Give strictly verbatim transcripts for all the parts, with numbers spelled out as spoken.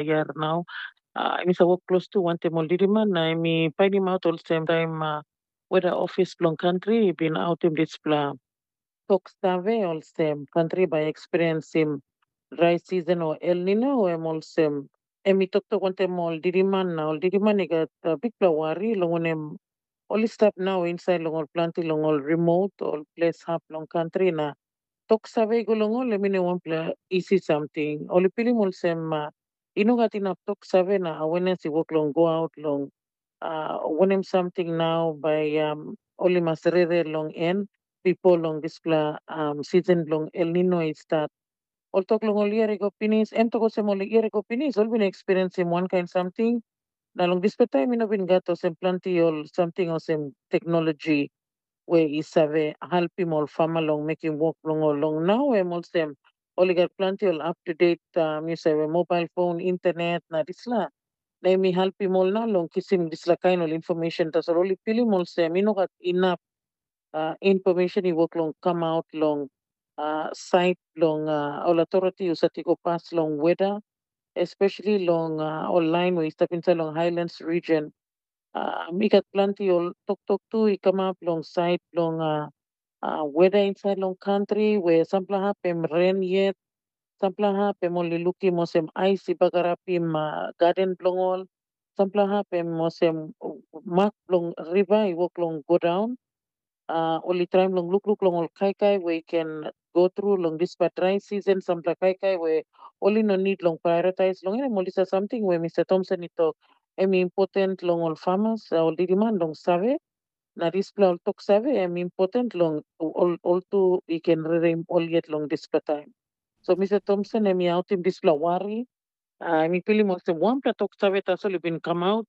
yar nau. Uh, em i sa wok klostu wantaim ol diriman na em i painimaut olsem taim uh, weda ofis bilong kantri i bin autim dispela tok save olsem kantri bai eksperiensim drai season o El Nino, em olsem em i toktok wantaim ol diriman na ol diriman i gat uh, bikpela wari long wanem ol i stap nau insait long ol planti long ol remote ol ples hap long kantri na tok save i go long ol em i no wanpela isi samting. Ol i pilim olsem uh, i no gat inap tok save na awenes i wok long go aut long uh, wanem samting nau bai um, ol i mas rere long en bipo long dispela um, season bilong El Nino i start. Ol tok long ol yia i go pinis, em tok olsem ol yia i go pinis, ol bin eksperiensim wankain samting. Na long dispela taim i no bin gat olsem planti ol samting olsem teknologi we i save helpim ol fama long mekim wok bilong ol long nau em olsem ol i gat planti ol up to date um, yu save mobile phone, internet na dispela. Na em i helpim ol na long kisim dispela kain ol information tasol ol i pilim olsem i no gat inap uh, information i wok long come out long uh, side long uh, ol authority u sati go pas long weather, especially long uh, ol line we i stap inside long highlands region. Uh, mi gat planti ol toktok tu i kamap long side long uh, uh, weather inside long country where sampela hap em rain yet, sampela hap em ol i lukim olsem ais i bagarapim uh, garden bilong ol, sampela hap em olsem mak bilong riva i wok long go daun. Uh, ol i traim long lukluk long ol kaikai we i ken go tru long dispela drai season, sampela kaikai we ol i no nid long prioritize long em, ol dispela samting we Mr. Thompson i tok em i important long ol farmers, uh, ol diriman long save. Na dispela ol tok save em important long ol, ol tu i ken rerim ol yet long dispela taim. So Mr. Thompson em i autim dispela wari, uh, em i pilim olsem wanpela tok save tasol i bin kamaut,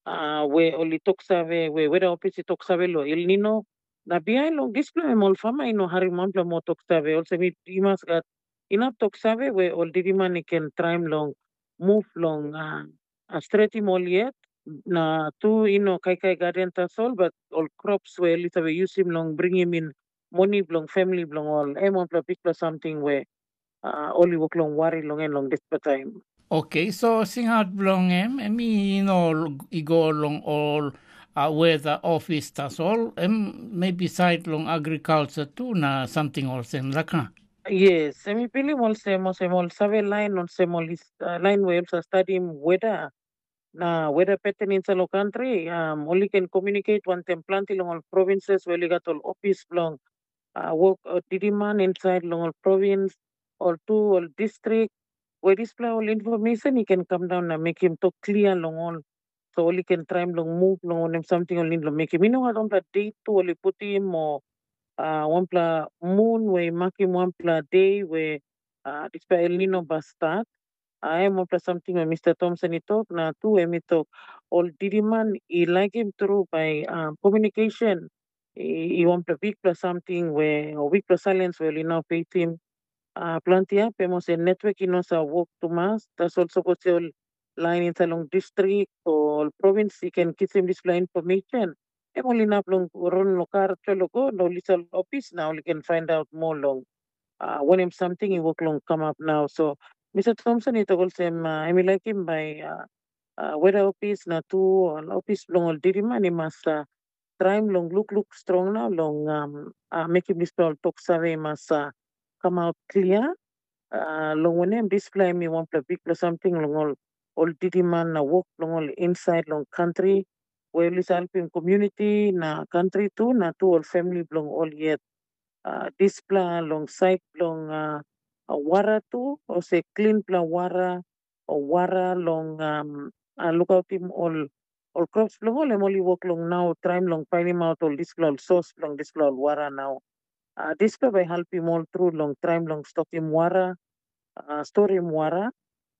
uh, we ol i tok save, we weda ofis i tok save long El Nino. Na bihain long dispela em ol fama i no harim wanpela moa tok save, olsem i, i mas gat inap tok save we ol diriman i ken traim long muv long uh, uh, stretim ol yet. Na tu i no kaikai gaden tasol, but ol crops we ol i save yusim long bringim in moni bilong famili bilong ol, em wanpela bikpela samting we uh, ol i wok long wari long en long dispela taim. Oke, so singaut bilong em, em i no i go long ol uh, weda ofis tasol, em maybe sait long agrikalsa tu na samting olsem, laka? Yes, em i pilim olsem, olsem ol save lain, olsem ol uh, lain we ol sa stadim weda na weda peten insait long kantri, um, ol i ken komunikate wantaim planti long ol provinses we ol i gat ol ofis bilong uh, wok uh, diriman insait long ol provins, ol tu ol distrik, we dispela ol information i ken kam daun na mekim tok klia long ol. So ol i ken traim long muv long wanem samting ol nid long mekim. I no gat wanpela deit tu ol i putim o uh, wanpela mun we i makim wanpela de we uh, dispela El Nino bas stat. Uh, em wanpela samting we Mr. Thompson i tok, na tu em i tok, ol diriman i laikim tru bai uh, communication i, i wanpela bikpela samting we o bikpela silence we ol i no peitim. Uh, planti hap em olsem network i no sa wok tumas, tasol sapos ol lain insait long distrik o ol provins i ken kisim dispela information, em ol inap long run long kar tolo go na ol i sal ofis na ol i ken find out moa long uh, wanem samting i wok long kamap nau. So Mr. Thompson i tok olsem uh, em i laikim bai uh, uh, weda ofis na tu ol ofis bilong ol diriman i mas uh, traim long lukluk strong na long um, uh, mekim dispela ol tok save i mas uh, kamaut klia. Uh, long wanem dispela em i wanpela bikpela samting long ol ol diriman na wok bilong ol insait long kantri, we ol i helpim komuniti na kantri tu na tu ol famili bilong ol yet. Uh, dispela long sait bilong uh, wara tu, olsem klinpela wara, o wara long um, uh, lukautim ol ol crops bilong ol em ol i wok long nau traim long painimaut ol dispela ol sos bilong dispela ol wara nau. Uh, dispela bai helpim ol tru long traim long stokim wara, uh, storim wara,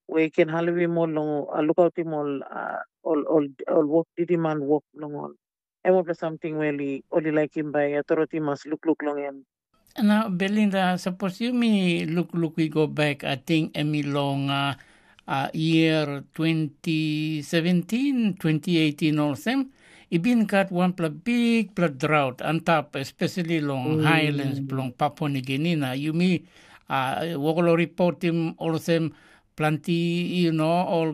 we i ken helpim ol long uh, lukautim ol, uh, ol, ol, ol wok diriman wok bilong ol. Em wanpela samting we ol i laikim bai authority mas lukluk long em. Na Belinda, sapos yumi lukluk i go bek, ating em i long uh, uh, year twenty seventeen, twenty eighteen olsem, i bin gat wanpela bikpela drought antap, especially long mm. highlands bilong Papua New Guinea. Na yumi uh, wokolo reportim olsem planti, yu no, ol